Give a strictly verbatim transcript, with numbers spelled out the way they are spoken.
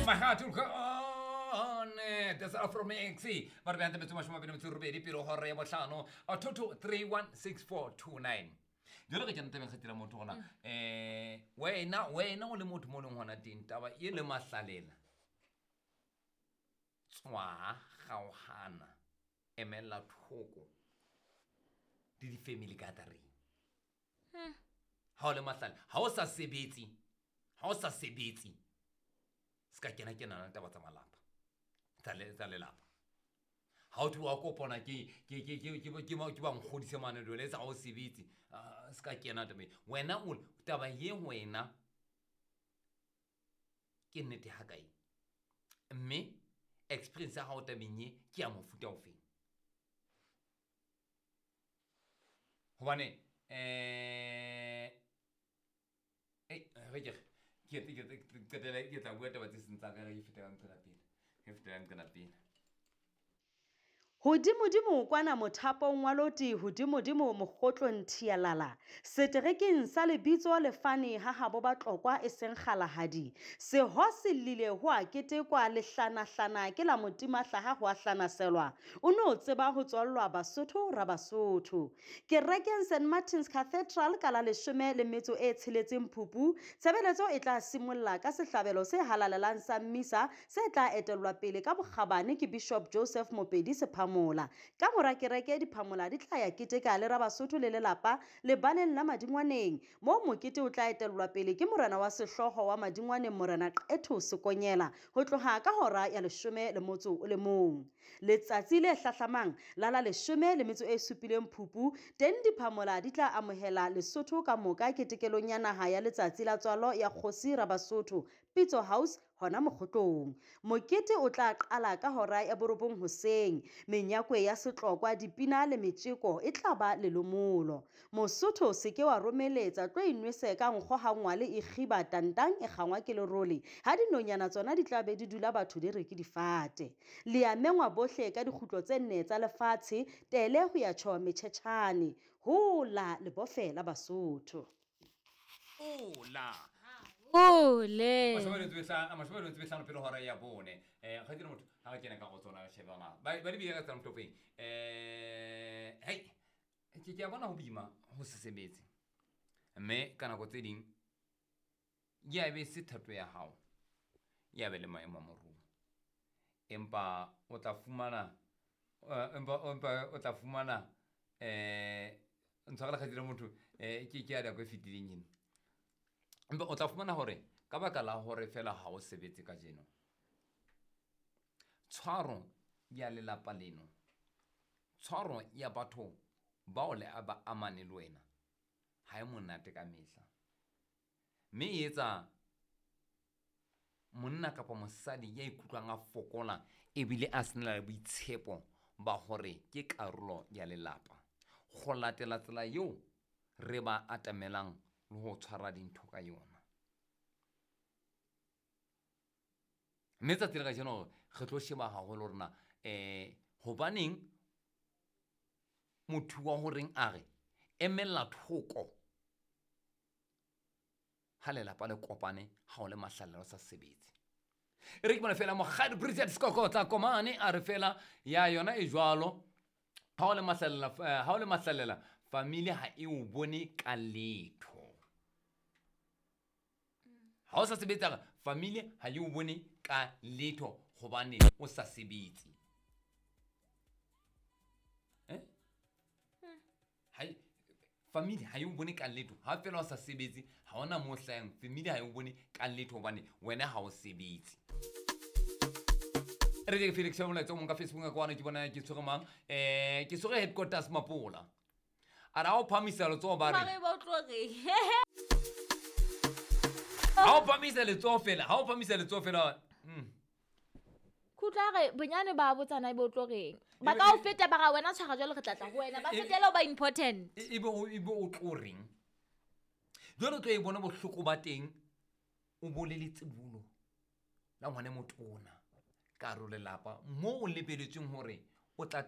Mahatulkane that's Afro Mix ba re beante metso mashome a mabedi metso e robedi pele hora ya bohlano two two three one six four two nine. Jalo re kena tabeng kgatila motho gona eh wena wena o le motho mo leng hona teng taba e le mahlalela tswa gaogana emela thoko di di family gathering. Ha o le mahlale ha o sa sebetse ha o sa sebetse ska kena kena na taba tsa malapa tsa le tsa lelapa ha o tloha kopana ke ke ke ke ke ke ke ba nkgodise mane dole tsa o sebetse ska kena taba wena o taba ye wena ke nnete ha kae mme experience ya hao tabeng ye ke ya mofuta ofeng hobane eh eh re ke ke ke ke ke tla bua taba tse seng tsa ka re fetela nqela pele re fetela nqela pele. Hodimodimo kwana mothapong wa loti, hodimodimo mokgotlong thialala. Seterekeng sa lebitso lefane ha habo Batlokwa e seng kgalahadi. Seho se llile ho a ketekwa lehlanahlana ke la motima hlaha ho a hlanaselwa. O no tseba ho tswallwa Basotho ra Basotho. Kerekeng Saint Martin's Cathedral ka la leshome le metso e tsheletseng Phupu, tshebeletso e tla simolla ka sehlabelo se halalelang sa mmisa se tla etellwa pele ka bokgabane ke Bishop Joseph Mopedi Sepha Mola. Ka mora kereke diphamola di tla ya keteka le Rabasotho le lelapa lebaleng la Madingwaneng moo mokete o tla etellwa pele ke morena wa sehlooho wa Madingwaneng Morena Qetho Sekonyela ho tloha ka hora ya leshome le motso o le mong. Letsatsi le hlahlamang la la leshome le metso e supileng Phupu teng diphamola di tla amohela Lesotho ka moka ketekelong ya naha ya letsatsi la tswalo ya kgosi Rabasotho Pitso House hona mokgotlong. Mokete o tla qala ka hora ya borobong hoseng. Menyakwe ya setlokwa, dipina le metjeko e tla ba lelomolo. Mosotho se ke wa romeletsa tlo inwese ka nkgo ha ngwale e kgiba tantang e kgangwa ke lerole. Ha dinonyana tsona di tla be di dula batho di re ke difate. Le a mengwa bohle ka dikgutlo tse nne tsa lefatshe tele ho ya tjho metjhetjhane. Hola lebofe la Basotho. Hola. Ole. Mashome le tswehla, mashome le tswehla pele hora ya bone. Eh ga dire motho ha ke kena ka go tsona shebana. Ba ba di bile ka tsana motopeng. Eh hey ke ke a bona ho bima ho se sebetse. Mme ka nako tse ding ya be se thato ya hao. Ya be le maemo a moruo. Empa o tla fumana empa empa o tla fumana eh ntshwarela ga dire motho eh ke ke ya da go fetileng eno. Empa o tla fumana hore ka baka la hore fela ha o sebetse ka jeno tshwaro ya lelapa leno tshwaro ya batho bao le ba amane le wena ha e monate ka mehla mme e etsa monna kapa mosadi ya ikutlwang a fokola ebile a sena le boitshepo ba hore ke karolo ya lelapa go latela tsela eo re ba atamelang le ho tshwara dintho ka yona. Mme tsatsi le kajeno re tlo sheba haholo rona eh hobaneng motho wa horeng a re emella thoko ha lelapa le kopane ha o le mahlalela o sa sebetse. E re ke bona fela Mokgadi Bridget Skokotla Komane a re fela ya yona e jwalo ha o le mahlalela ha o le mahlalela family ha e o bone ka letho. Ha o sa sebetsa family ha e o bone ka letho hobane o sa sebetse. Eh? Hai family ha e o bone ka letho ha fela o sa sebetse ha ona mo hlayang family ha e o bone ka letho hobane wena ha o sebetse. Re ke Felix Molaetsa o mong ka Facebook ka kwana ke bona ke tshwere mang eh ke tshwere headquarters Mapola. A ra o phamisa letsoho ba re Mare ba o tlo reng? Ha o phamisa letsoho fela, ha o phamisa letsoho fela. Mm. Khutla re bonyane ba botsana e bo tlo reng. Ba ka o feta ba ra wena tshwara jwale re tla tla ho wena. Ba fetela o ba important. E be o e be o tlo reng? Jwale o tlo e bona bohloko ba teng o bolele tsibulo la ngwane motona ka ro lelapa mo o lebeletsweng hore o tla